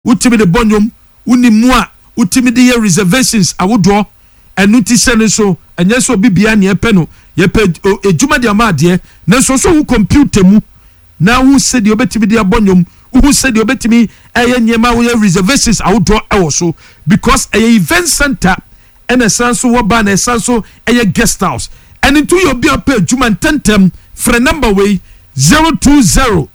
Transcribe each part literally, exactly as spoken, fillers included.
Wotumi de bɔ nnwom, wonim mu a wotumi de yɛ reservations ahodoɔ. Ɛno ti sɛ no so ɛnyɛ sɛ obi bia neɛ ɛpɛ no, yɛpɛ edwuma de ama adeɛ, nanso so wo computer mu na wo sɛdeɛ wobɛtumi de abɔ nnwom, wohu sɛdeɛ wobɛtumi ɛyɛ nneɛma, woyɛ reservations ahodoɔ ɛwɔ so, because ɛyɛ event center ɛna ɛsan so wɔ bar na ɛsan so ɛyɛ guest house. Ɛne nto yɛ obi a pɛ adwuma ntɛntɛm, frɛ number wei: zero two zero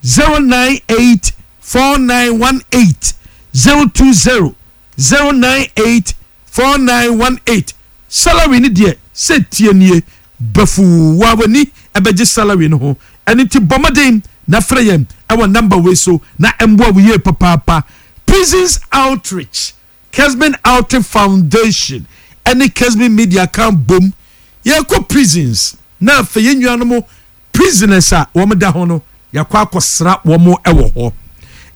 zero nine eight four nine one eight, zero two zero zero nine eight four nine one eight. Salary ni deɛ sɛ tie nie bɛfuu wa w'ani ɛbɛgye salary no ho. Ɛne nti bɔ mmɔden na frɛ yɛn ɛwɔ number wei so na ɛmboa wo yie papaapa. Prisons Outreach, Kesben Outreach Foundation ɛne Kesben Media kan bom yɛkɔ prisons na afei yɛn nuanom prisoners a wɔn da ho no, yɛakɔ akɔsra wɔn ɛwɔ hɔ.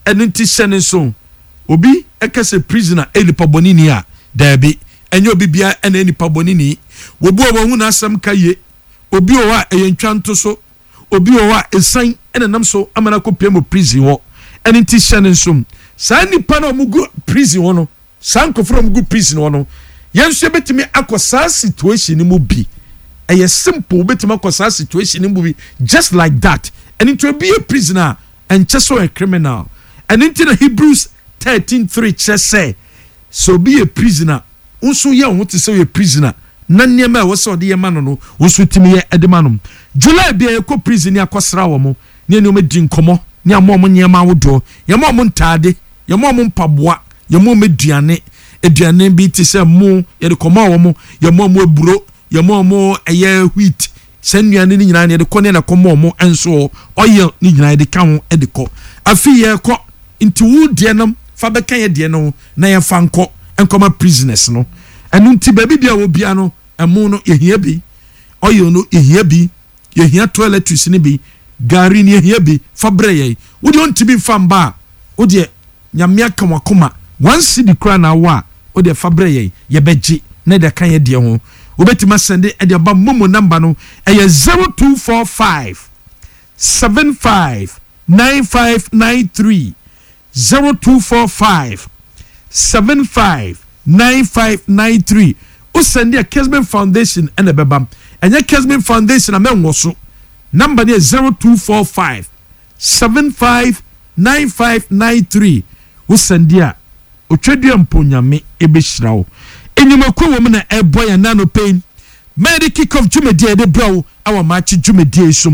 Ɛno nti hyɛ ne nso, obi ɛka sɛ prisoner ɛyɛ nipa bɔne ni a, daabi, ɛnyɛ obi bia ɛna nipa bɔne ni. Obi wɔ wɔn ho n'asɛm ka yie, obi wɔ hɔ a ɛyɛ ntwa nto so, obi wɔ hɔ a esan ɛna nam so ama no akɔ pie mu prison hɔ. Ɛno nti hyɛ ne nso, saa nipa no a wɔn gu prison hɔ no, saa nkurɔfoɔ a wɔn gu prison hɔ no, yɛn nso yɛbɛtumi akɔ saa situation no mu bi. Ɛyɛ simple, wobɛtumi akɔ saa situation no mu bi just like that. Ɛno nti obi yɛ prison a, ɛnkyɛ sɛ ɔyɛ criminal. Ɛno nti na Hebrews thirteen three kyerɛ sɛ sɛ obi yɛ prisoner, nso yɛ ho te sɛ ɔyɛ prisoner na nneɛma a ɛwɔ sɛ ɔde yɛ ma no no nso tumi yɛ ɛde ma no. July bi a yɛkɔ prison ne akɔsra wɔn ne nneɛma di nkɔmɔ ne ama wɔn nneɛma ahodoɔ. Yɛma wɔn ntaade, yɛma wɔn mpaboa, yɛma wɔn aduane. Aduane bi te sɛ mo yɛde kɔma wɔn, yɛma wɔn aburo, yɛma wɔn ɛyɛ wheat. Sɛ nnuane no nyinaa yɛde kɔ ne yɛde kɔma wɔn nso, oil ne nyinaa yɛde ka ho de kɔ. Afi yɛkɔ nti wo deɛ no fa bɛka yɛ deɛ no na yɛfa nkɔ nkɔma prisoners no. Ɛno nti baabi bi a wɔ bia no, ɛmo no yɛhia bi, oil no yɛhia bi, yɛhia toiletries no bi, gari no yɛhia bi. Fa brɛ yɛn. Wo deɛ ɔntumi nfa mba a, wo deɛ Nyame aka wakoma, one cedi kora na awɔ a, wo deɛ fa brɛ yɛn, yɛbɛgye na ɛde aka yɛ deɛ ho. Wobɛtumi asend ɛde aba. MoMo number no ɛyɛ zero two four five seven five nine five nine three, zero two four five seven five nine five nine three. Wosend a, Kesben Foundation ɛna ɛbɛba. Ɛnyɛ Kesben Foundation a, mɛnwɔ so. Number no yɛ zero two four five seven five nine five nine three. Wosend a, Otwadua mpo Nyame ɛbɛhyira wo. Enyimako wɔ mu na ɛbɔ yɛn nano pɛn mɛde kick off dwumadie a yɛde brɛ wo ɛwɔ maakye dwumadie yi so.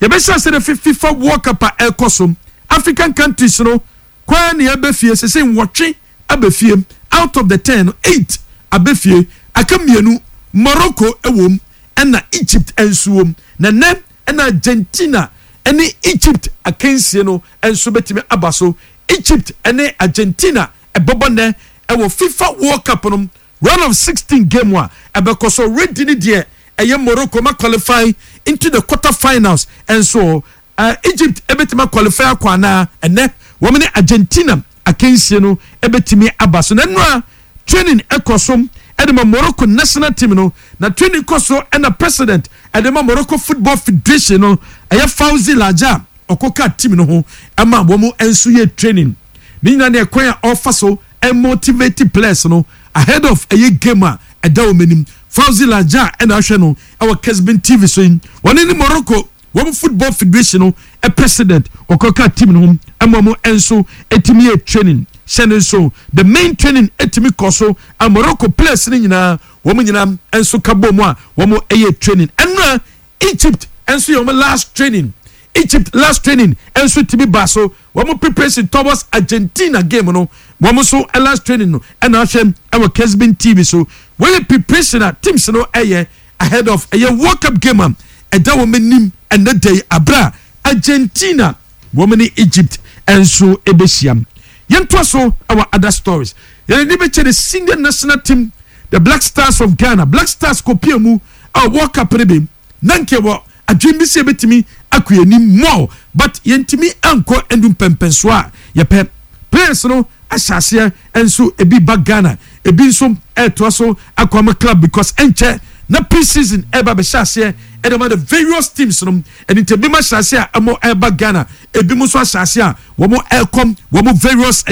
Yɛbɛhyɛ ase de FIFA World Cup a ɛkɔ so, African countries no kwan ne ɛbɛ fie sese nwɔtwe abɛ fie. Out of the ten no, eight abɛ fie, aka mmienu. Morocco ɛwɔ mu ɛna Egypt nso wɔ mu. Na nɛ ɛna Argentina ɛne Egypt akansie no nso bɛtumi aba so. Egypt ɛne Argentina ɛbɛbɔ nɛ ɛwɔ FIFA World Cup no round of sixteen game a ɛbɛkɔ so. Ready ne deɛ ɛyɛ Morocco ma qualify into the quarter finals. Ɛnso uh, Egypt ɛbɛtumi qualify akɔ anaa? Ɛnɛ wɔn ne Argentina akansie no ɛbɛtumi aba so. Na nnura training ɛkɔ so ɛde ma Morocco national team no, na training kɔ so ɛna president ɛde ma Morocco Football Federation no, ɛyɛ Fawzi Lekjaa, ɔkɔka team no ho ɛma wɔn nso yɛ training ne nyinaa ne ɛkwan a ɔfa so ɛmotivate players no ahead of ɛyɛ game a ɛda wɔn anim. Fawzi Lekjaa ɛna ahwɛ no ɛwɔ Kesben T V so yi. Wɔn ne Morocco wɔn Football Federation no ɛ president ɔkɔka team no ho ɛma wɔn nso ɛtumi yɛ training. Hyɛ ne nso, the main training ɛtumi kɔ so a Morocco players no nyinaa, wɔn nyinaa nso ka bɔ mu a wɔn ɛyɛ training. Ɛnura Egypt nso yɛ wɔn last training. Egypt last training nso tumi ba so, wɔn preparation towards Argentina game no. Wɔn nso last training no ɛna ahwɛ ɛwɔ Kesben T V so. Wɔyɛ preparation a teams no ɛyɛ ahead of ɛyɛ World Cup game a ɛda wɔn anim ɛnɛ da yi, abira Argentina wɔn ne Egypt nso ɛbɛhyia. Yɛntoa so ɛwɔ other stories. Yɛn ani bɛkyɛ the senior national team, the Black Stars of Ghana. Black Stars kɔpie mu a World Cup no bi na nke wɔ adwene bi sɛ yɛbɛtumi akɔ anim more, but yɛntumi ankɔ ɛndu mpɛmpɛnsoɔ a yɛpɛ. Players no ahyɛ aseɛ nso ebi ba Ghana, ebi nso ɛɛtoa so akɔ ama club because ɛnkyɛ. Na pre-season ɛba bɛhyɛ aseɛ ɛde ma the various teams no. Ɛne nti ebi ma hyɛ aseɛ a ɛmo ɛba Ghana, ebi mo nso ahyɛ aseɛ a wɔn ɛkɔm wɔn various ɛyɛ.